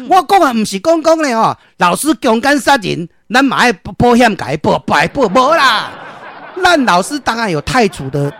我講的毋是講講咧吼，老師強姦殺人，咱嘛愛保險共伊保，保保無啦。咱老師當然有汰除的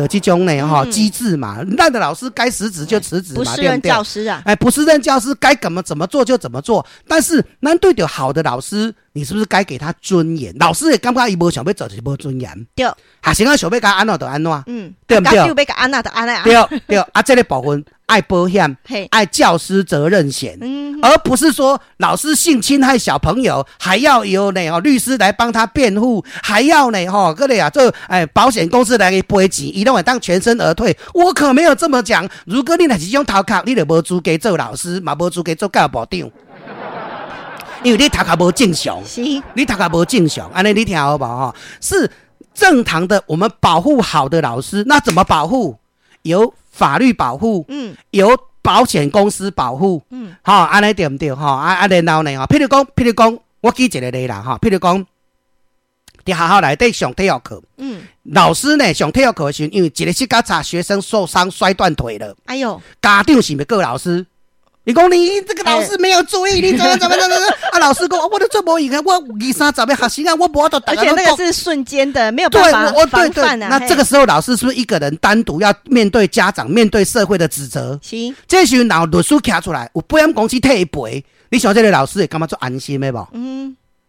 這種呢吼機制嘛。咱的老師該辭職就辭職嘛，對不對？教師啊，哎，不適任教師該怎麼做就怎麼做。但是，咱對著好的老師，你是不是該給他尊嚴？老師會感覺伊無想欲做就是無尊嚴。對，學生啊想欲共按怎就按怎。對毋對？欲共按怎就按怎。對對，啊，這个部分愛保險，愛教師責任險，而不是說老師性侵害小朋友，還要由呢哦律師來幫他辯護，還要呢吼閣咧啊做哎保險公司來給賠錢，伊攏會當全身而退。我可沒有這麼講。如果你若是這種頭殼，你就無資格做老師，嘛無資格做教育部長。因為你頭殼無正常，你頭殼無正常，按呢你聽好無吼？是正常的，我們保護好的老師，那怎麼保護？由法律保護，由保險公司保護，好，按呢對毋對？吼，啊啊，然後呢？吼，譬如講，我舉一個例啦，吼，譬如講，佇學校內底上體育課，老師呢上體育課的時陣，因為一个膝蓋差學生受傷摔斷腿了，哎喲，家長是欲告老師？你講你這個老師沒有注意，你怎麼怎麼怎麼？啊，老師講，我都做無閒啊，我二三十個學生啊，我無法度。而且那個是瞬間的，沒有辦法防範啊。那這個時候，老師是不是一個人單獨要面對家長、面對社會的指責？是。這時候，律師徛出來，有保險公司替伊賠，你想這個老師會感覺足安心的無？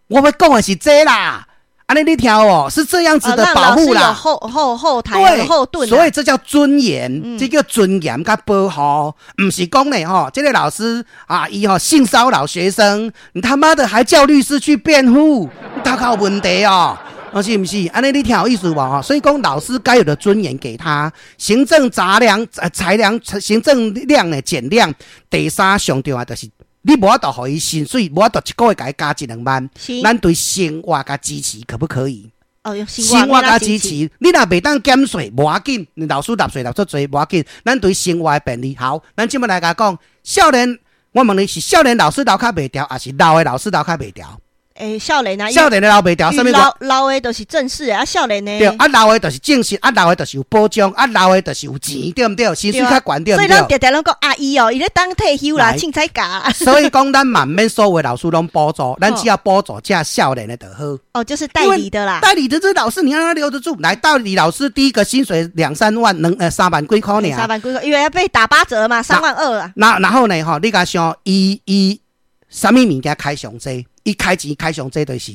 我欲講的是這啦。按呢你聽哦，是這樣子的保護啦，後台對後盾，所以這叫尊嚴，這叫尊嚴佮保護，毋是講呢吼，這個老師啊，伊吼性騷擾學生，你他媽的還叫律師去辯護，頭殼有問題哦，是毋是？按呢你聽有意思無？吼，所以講老師該有的尊嚴給他，行政雜糧、裁量、行政量的減量。第三上重要就是，你無法度予伊薪水，無法度一個月共伊加一兩萬。咱對生活共支持可不可以？哦，用生活共支持，你若袂當減稅，無要緊，老師納稅納足濟，無要緊。咱對生活的便利好，咱這擺來共講，少年，我問你是少年老師留較袂牢，抑是老的老師留較袂牢？欸，少年啊，少年的留袂牢，啥物？老老的就是正式啊，少年的對啊，老的就是正式，啊，老的就是有保障，啊，老的就是有錢，對毋對？薪水較懸，對毋對？所以咱常常攏講阿姨哦，伊咧等退休啦，凊彩假。所以講，咱嘛毋免所有老師攏補助，咱只要補助遮少年的就好。哦，就是代理的啦。代理的這老師，你讓他留得住。來，代理老師第一個薪水兩三萬，能3萬幾塊爾。 3萬幾塊，因為要被打8折嘛，3萬2啊。那然後呢？吼，你共想，伊伊啥物物件開上濟？伊開錢開上濟就是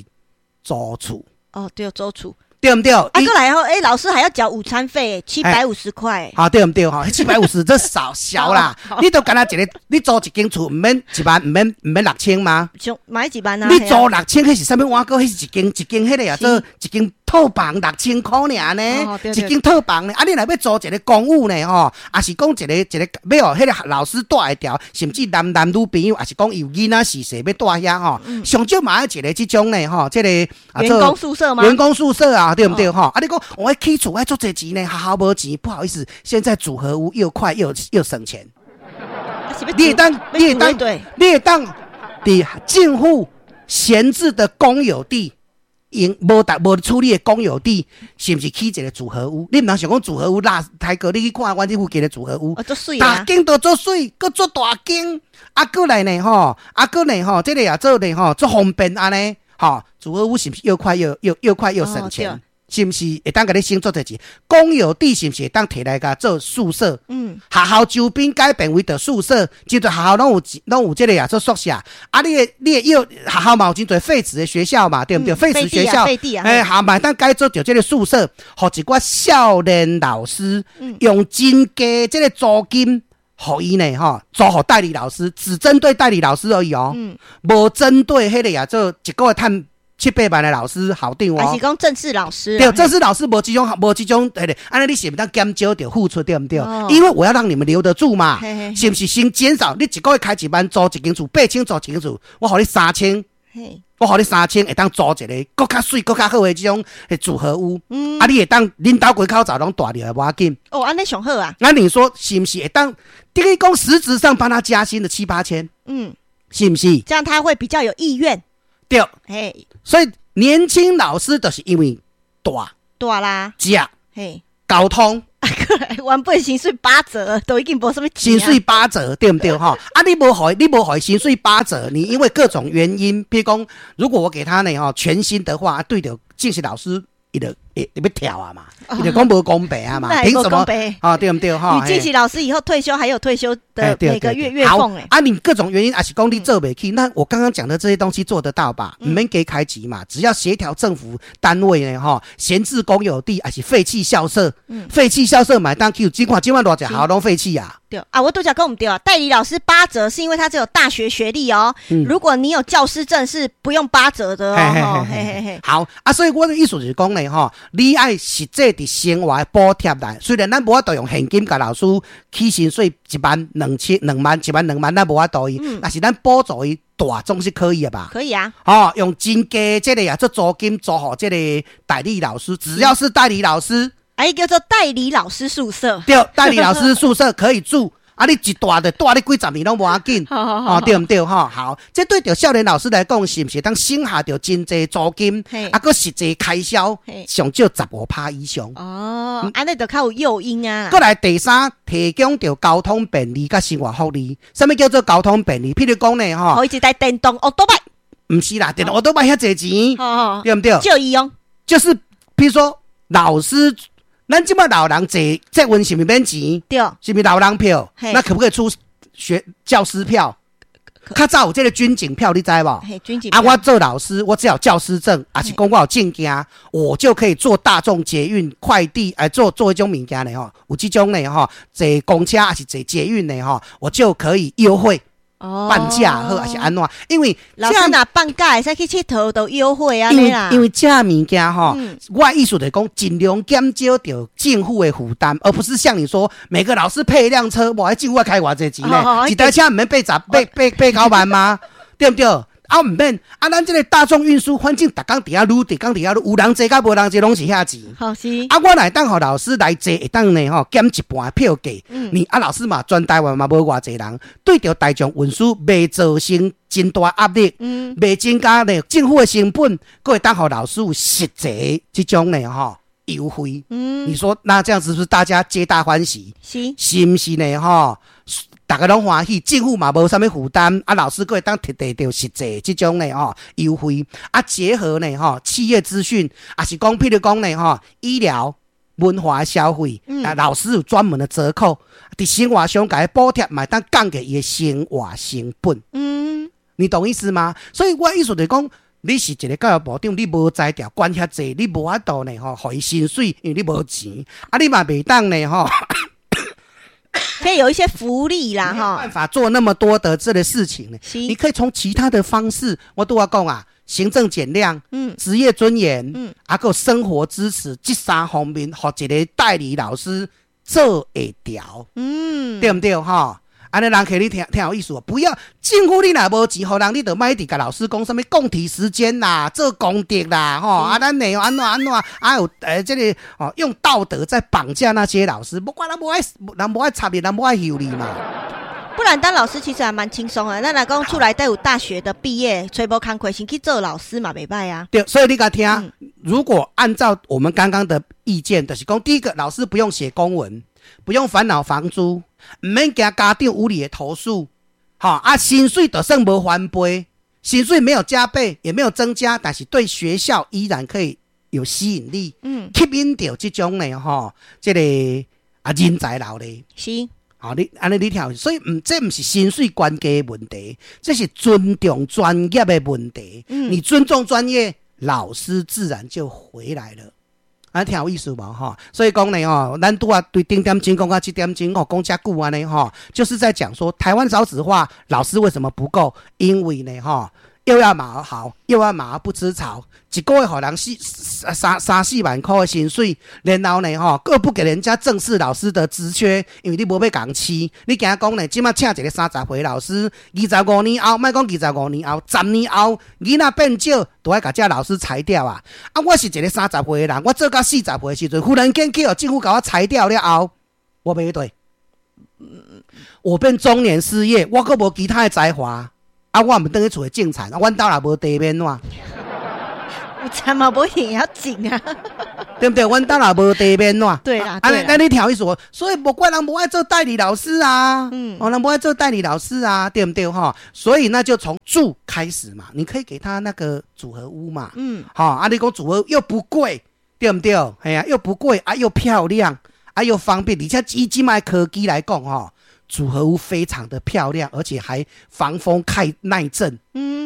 租厝。哦，對，租厝。對毋對？啊，閣來吼，欸，老師還要繳午餐費，七百五十塊。好，對毋對？吼，七百五十這少小啦。你都敢若一個，你租一間厝，毋免一萬，毋免6000嗎？就買一萬啊。你租六千，彼是啥物碗糕？彼是一間一間彼个啊，做一間套房六千箍爾呢，一間套房呢。啊，你若欲租一个公寓呢？吼，抑是講一个一个欲予彼个老師蹛會牢，甚至男男女朋友，抑是講有囡仔序細欲蹛遐吼，上少嘛愛一个這種呢，吼，這個啊，員工宿舍嗎？員工宿舍啊，對毋對？吼，啊，你講我起厝愛足濟錢呢，學校無錢，不好意思，現在組合屋又快又省錢。你會當，你會當，你會當佇政府閒置的公有地，用無達無處理的公有地，是毋是起一個組合屋？你毋通想講組合屋啦，台哥，你去看阮這附近的組合屋，逐間都足媠，閣足大間，啊，閣來呢吼，啊，閣呢吼，這個也做呢吼，足方便按呢，吼，組合屋是毋是又快又省錢？是毋是會當共你省足濟錢？公有地是毋是會當提來共做宿舍？學校周邊改變為著宿舍，真濟學校攏有這个啊做宿舍。啊，你的要學校嘛有真濟廢置的學校嘛，對毋對？廢置學校，欸，好嘛，當改做著這个宿舍，予一寡少年老師用真低這个租金。予伊呢？吼，租予代理老師，只針對代理老師而已哦，無針對彼个啊做一個月趁七八萬的老師校長哦，抑是講正式老師？對，正式老師無這種，無這種，彼个，按呢你是毋是當減少著付出，對毋對？因為我要讓你們留得住嘛，是毋是先減少？你一個月開一萬租一間厝，8000租一間厝，我予你三千，我予你三千，會當租一个閣較媠、閣較好的這種組合屋。啊，你會當恁兜規口罩攏蹛入來，無要緊。哦，按呢上好啊。那你說是毋是會當？等於講實質上幫他加薪的七八千，是毋是？這樣他會比較有意願。對，所以年輕老師就是因為蹛蹛啦，食，交通，過來原本薪水八折，都已經無啥物錢。薪水八折，對毋對？吼，啊，你無予薪水八折，你因為各種原因，譬如講，如果我給他呢，吼，全薪的話，對著正式老師，伊就會欲跳啊嘛，伊就講無公平啊嘛，憑什麼？啊，對毋對？吼，你正式老師以後退休還有退休的每個月月俸欸。啊，你各種原因，抑是講你做袂起，那我剛剛講的這些東西做得到吧？毋免加開錢嘛，只要協調政府單位呢，吼，閒置公有地，抑是廢棄校舍，廢棄校舍嘛會當去，這款這款偌濟學校攏廢棄啊。對啊，我拄才講毋對啊，代理老師八折是因為他只有大學學歷哦。如果你有教師證，是不用八折的哦。嘿嘿嘿。好啊，所以我的意思就是講呢，吼，你愛實際佇生活的補貼來，雖然咱無法度用現金共老師起薪水一萬兩千兩萬一萬兩萬，咱無法度伊，但是咱補助伊大總是可以的吧？可以啊。哦，用真低這個啊做租金租予這個代理老師，只要是代理老師。哎，叫做代理老師宿舍。對，代理老師宿舍可以住。啊，你一蹛就蹛你幾十年攏無要緊。哦，對毋對？吼，好，這對著少年老師來講，是毋是當省下著真濟租金？啊，閣實際開銷上少15%以上。哦，按呢就較有誘因啊。閣來第三，提供著交通便利佮生活福利。啥物叫做交通便利？譬如講呢，吼，予伊一台電動歐多拜。毋是啦，電動歐多拜遐濟錢，對毋對？借伊用。就是，譬如說老師。咱這馬老人坐捷運是毋是免錢？對，是毋是老人票？那可不可以出學教師票？較早有這個軍警票，你知無？軍警。啊，我做老師，我只要有教師證，抑是講我有證件，我就可以坐大眾捷運、快遞，來坐坐彼種物件的吼，有這種的吼，坐公車抑是坐捷運的吼，我就可以優惠。半價好，抑是按怎？因為老師若放假會使去𨑨迌都優惠啊！因為這物件吼，我意思就是講，盡量減少著政府的負擔，而不是像你說每個老師配一輛車，哇！政府愛開偌濟錢呢？一台車毋免八十八八八九萬嗎？對毋對？啊，毋免啊！咱這個大眾運輸，反正逐工佇遐擼，逐工佇遐擼，有人坐佮無人坐攏是遐錢。好是。啊，我若會當予老師來坐，會當呢吼減一半的票價。你啊，老師嘛，全台灣嘛無偌濟人，對著大眾運輸袂造成真大壓力，袂增加呢政府的成本，閣會當予老師有實際這種呢吼優惠。你說那這樣子是不是大家皆大歡喜？是。是毋是呢？吼？逐家攏歡喜，政府嘛無啥物負擔，啊，老師閣會當摕著實際這種呢吼優惠，啊，結合呢吼企業資訊，抑是講譬如講呢吼醫療、文化消費，啊，老師有專門的折扣，佇生活上共伊補貼，嘛會當降低伊的生活成本。你懂意思嗎？所以我意思就是講，你是一個教育部長，你無才調管遐濟，你無法度呢吼，予伊薪水，因為你無錢，啊，你嘛袂當呢吼。可以有一些福利啦，哈。辦法做那麼多的這個事情呢？你可以從其他的方式，我拄仔講啊，行政減量，職業尊嚴，啊，閣生活支持，這三方面，予一個代理老師做會調，對毋對？吼，按呢人客你聽聽有意思無？不要政府你若無錢，予人你就莫一直共老師講啥物共體時艱啦，做功德啦，吼啊，咱呢按怎按怎，啊有這個哦，用道德在綁架那些老師，無管人無愛，人無愛插你，人無愛休你嘛。不然當老師其實還蠻輕鬆啊。咱若講出來都有大學的畢業，揣無工課先去做老師嘛，袂䆀啊。對，所以你共聽，如果按照我們剛剛的意見，就是講第一個，老師不用寫公文，不用煩惱房租，毋免驚家長無理的投訴，吼啊，薪水就算無翻倍，薪水沒有加倍，也沒有增加，但是對學校依然可以有吸引力，吸引著這種呢，吼，這個啊人才留咧。吼，你按呢你聽，所以毋這毋是薪水懸低的問題，這是尊重專業的問題。你尊重專業，老師自然就回來了。啊，聽有意思無吼？所以講呢吼，咱拄仔對頂點鐘講到這點鐘吼，講遮久按呢吼，就是在講說台灣少子化，老師為什麼不夠？因為呢吼，又要馬兒好，又要馬兒不吃草，一個月予人四三三四萬箍的薪水，然後呢吼，閣不給人家正式老師的職缺，因為你無欲共飼，你驚講呢，這馬請一個30歲老師，二十五年後，莫講二十五年後，10年後，囡仔變少，都愛共這老師裁掉啊！啊，我是一個三十歲的人，我做到40歲的時陣，忽然間去予政府共我裁掉了後，我欲對，我變中年失業，我閣無其他的才華。啊，我毋轉去厝裡種田，啊，阮兜若無地欲按怎？有田嘛，無一定會曉種啊。对毋对？阮兜若無地面怎？對啦，啊，那你聽意思，所以無怪人無愛做代理老師啊，哦，人無愛做代理老師啊，對毋對？吼，所以那就從住開始嘛，你可以給他那個組合屋嘛，吼，啊，你講組合又不貴，對毋對？係啊，又不貴啊，又漂亮啊，又方便，而且以這擺科技來講，吼，組合屋非常的漂亮，而且還防風耐耐震。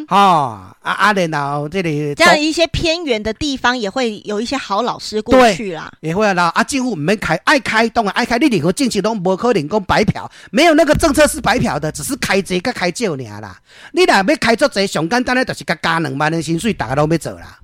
然後這裡這樣一些偏遠的地方也會有一些好老師過去啦。也會啦。啊，政府毋免開，愛開當然愛開，你任何政策攏無可能講白嫖，沒有那個政策是白嫖的，只是開濟佮開少爾啦。你若欲開足濟，上簡單的就是共加2萬的薪水，逐家攏欲做啦。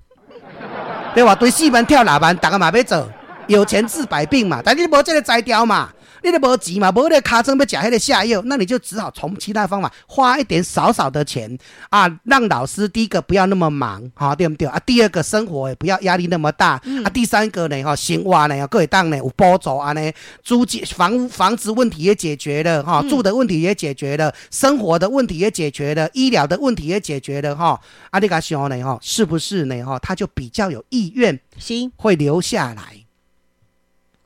對吧？對4萬跳6萬，逐家嘛欲做，有錢治百病嘛。但你無這個才調嘛。你都無錢嘛，無彼个尻川欲食彼个瀉藥，那你就只好從其他方法花一點少少的錢啊，讓老師第一個不要那麼忙，哈，對毋對？啊，第二個生活也不要壓力那麼大，啊，第三個呢，哈，生活呢，閣會當呢有補助按呢，租金房子問題也解決了，哈，住的問題也解決了，生活的問題也解決了，醫療的問題也解決了，哈，啊，你共想呢，哈，是不是呢？哈，他就比較有意願，會留下來。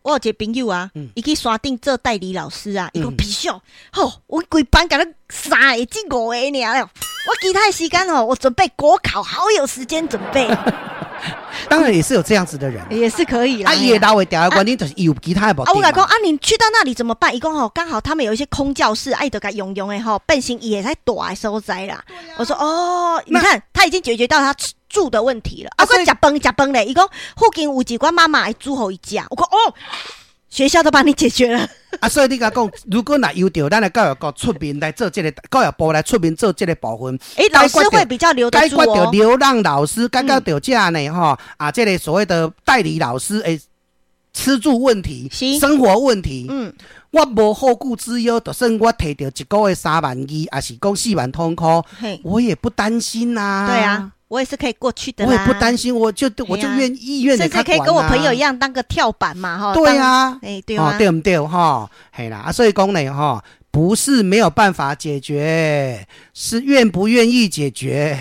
我有一個朋友啊，伊去山頂做代理老師啊，伊講皮少，吼，阮規班敢若三个至五个爾，我其他的時間吼，我準備國考，好有時間準備。當然也是有這樣子的人，也是可以啦。啊，伊會留會牢的原因就是伊有其他的目的。啊，我共伊講啊，你去到那裡怎麼辦？伊講吼，剛好他們有一些空教室，啊，伊就共用用的吼，變成伊會使蹛的所在啦。我說哦，你看他已經解決到他住的問題了。啊，閣食飯食飯咧，伊講附近有一寡媽媽會煮予伊食。我講哦，學校都幫你解決了。啊，所以你共講，如果若由著咱的教育局出面來做這個，教育部來出面做這個部分，欸，老師會比較留得住哦。解決著流浪老師，解決著這呢吼啊，這個所謂的代理老師欸，吃住問題、生活問題，我無後顧之憂，就算我提著一個月3萬2，抑是講4萬通箍，我也不擔心呐。對啊。我也是可以過去的，我也不擔心，我就願意願甚至可以跟我朋友一樣當個跳板嘛，哈。對啊，哎，對啊，對毋對？哈，嘿啦，啊，所以講呢，哈，不是沒有辦法解決，是願不願意解決。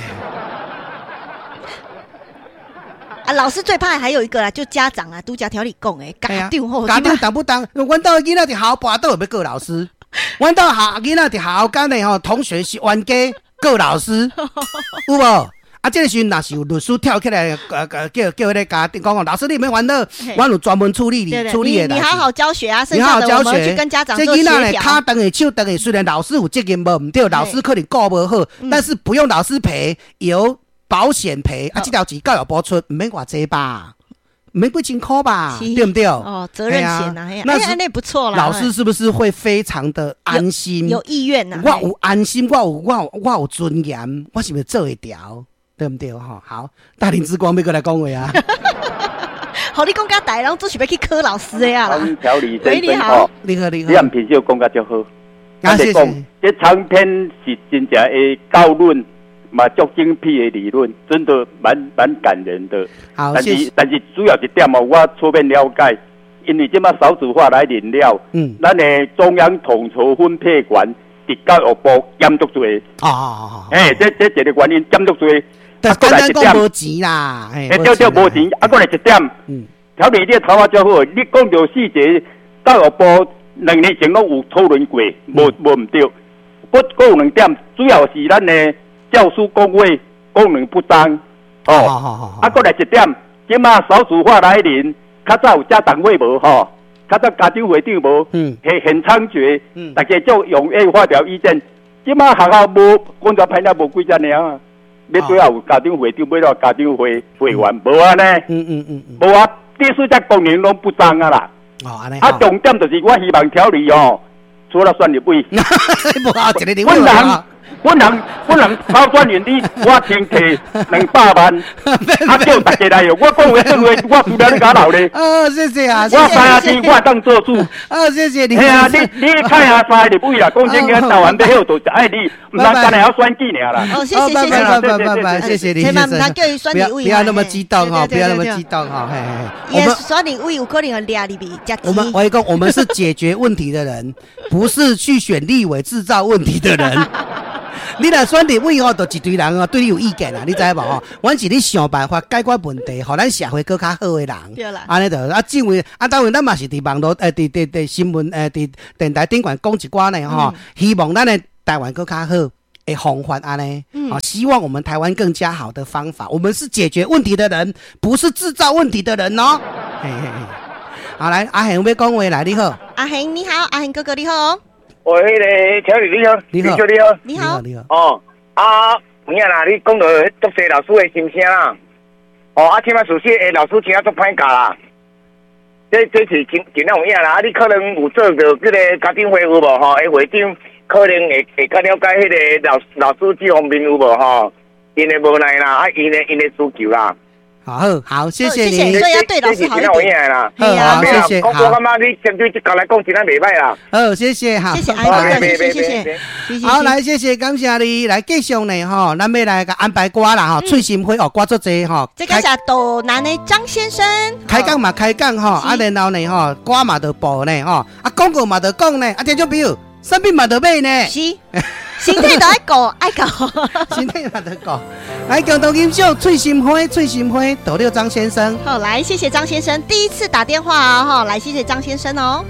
啊，老師最怕還有一個啦，就家長啊，拄才聽你講的，家長吼，家長當不當？阮兜囡仔佇學校跋倒欲告老師，阮兜學囡仔佇學校間的吼，同學是冤家告老師，有無？啊，這個時陣若是有律師跳起來，叫彼個家長講，老師你免煩惱，阮有專門處理你處理的。你好好教學啊，你好好教學，去跟家長做協調。這囡仔呢，跤斷的手斷的，雖然老師有責任無毋對，老師可能顧無好，但是不用老師賠，由保險賠。啊，這條錢教育部出，毋免偌濟吧？毋免幾千箍吧？對毋對？哦，責任險啊，那那不錯啦。老師是不是會非常的安心？有意願吶。我有安心，我有尊嚴，我是毋是做會牢？對毋對？吼，好，大林之光欲閣來講話啊！好，你講甲大，人做是欲去考老師的啊啦。調理先生吼，你好，你好，你按平時講甲足好。啊，謝謝。這長篇是真正的教論，嘛足精闢的理論，真的蠻感人的。好，但是但是主要一點哦，我初面了解，因為這馬少子化來臨了，咱的中央統籌分配權佇教育部減足濟。哦，欸，這一個原因減足濟。啊，簡單講無錢啦，欸，對對，無錢。啊，閣來一點，調理你的頭仔足好，你講著細節，教育部2年前攏有討論過，無毋對。閣有兩點，主要是咱的教師工會功能不彰。哦，啊，閣來一點，這馬少子化來臨，較早有家長會無吼？較早家長會長無？很猖獗，大家足踴躍發表意見。這馬學校無，工作派了無幾只爾。欲對也有家長會長，欲了家長會會員，無啊呢？無啊，第四只功能攏不彰啊啦。哦，按呢。啊，重點就是我希望調理哦，除了選立委，阮人拋磚引玉，我先提200萬，啊叫大家來用。我講話算話，我輸了你敢留咧？哦，謝謝啊！我三支我當做主。哦，謝謝你。嘿啊，你看下三個立委啦，講真個，台灣欲好，就是愛你，毋通干焦曉選舉爾啦。哦，謝謝謝謝，拜拜拜拜，謝謝你。千萬毋通叫伊選立委。不要那麼激動哈，不要那麼激動哈。嘿嘿。我們選立委有可能會掠入去食錢。我跟你講，我們是解決問題的人，不是去選立委製造問題的人。你若選立委吼，就一堆人哦對你有意見啦，你知無吼？阮是咧想辦法解決問題，予咱社會閣較好的人。對啦。按呢就啊，政委啊，當然咱嘛是佇網路佇新聞佇電台頂懸講一寡呢吼，希望咱的台灣閣較好的方法按呢，啊，希望我們台灣更加好的方法。我們是解決問題的人，不是製造問題的人哦。嘿嘿嘿，好來，阿賢欲講話來，你好。阿賢你好，阿賢哥哥你好。喂，彼個小李你好，你好，你好，你好，你好。哦，啊，有影啦，你講到足濟老師的心聲啦。哦，啊，這擺事實的老師真正足歹教啦。這是真真有影啦。啊，你可能有做著這个家長會有無吼？會長可能會較了解彼个老師這方面有無吼？𪜶的無奈啦，啊，𪜶的需求啦。好，好，謝謝你。所以要對老師好一點。好，謝謝。我感覺你針對這個來講，真正袂䆀啦。好，謝謝哈。謝謝阿哥，謝謝謝謝。好，來謝謝，感謝你。來繼續呢，吼，咱欲來共安排歌啦，吼，翠心花哦，歌足濟吼。這個是斗南的張先生。開講嘛，開講吼，啊，然後呢，吼，歌嘛著播呢，吼，啊，廣告嘛著講呢，啊，聽眾朋友，啥物嘛著買呢。是。身體都愛顧，愛顧。身體嘛著顧。來，共同欣賞《翠心花》，翠心花，斗六張先生。好，來，謝謝張先生，第一次打電話啊，哈，來，謝謝張先生哦。